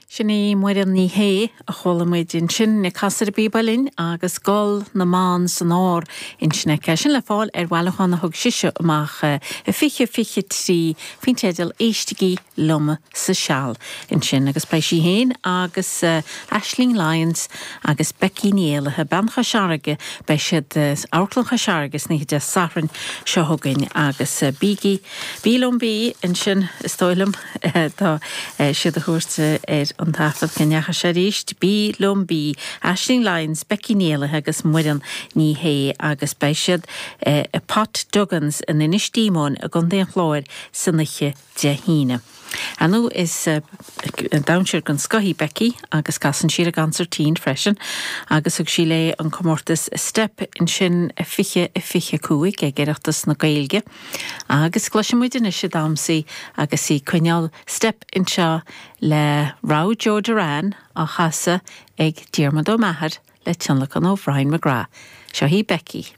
Sin í Muireann Ní Shé a chuala muid ansin ag casadh ar an bpíob uilleann agus Gol na mBan san Ár ansin aici. Sin le fáil ar bhailiúchán a thug sise amach i 2023 faoin teideal Éistigí Liom sa Seal ansin agus beidh sí féin agus Aisling Lyons agus Becky Ní Éallaithe, Bean Chois Fharraige, beidh siad in Amharclann Chois Fharraige san oíche Dé Sathairn seo chugainn agus bígí, bí liom bí ansin is dóigh liom. Tá siad a thabhairt ar an taifead go ndeachaigh sé arís. Bí liom bí. Aisling Lyons, Becky Ní Éallaithe agus Muireann Ní Shé agus beidh siad i Pot Duggan's in Inis Díomóin i gContae an Chláir san oíche Dé hAoine. Ar ndóigh is damhsóir den scoth í Becky agus casann sí ar an gconsairtín freisin agus thug sí léi an comórtas Steip ansin 20 25 ag Oireachtas na Gaeilge. Agus cloisfidh muid anois í ag damhsa agus í ag coinneáil steip anseo le Raibh Joe Doran á chasadh ag Diarmuid Ó Meachair le tionlacan ó Bhrian McGrath. Seo í Becky.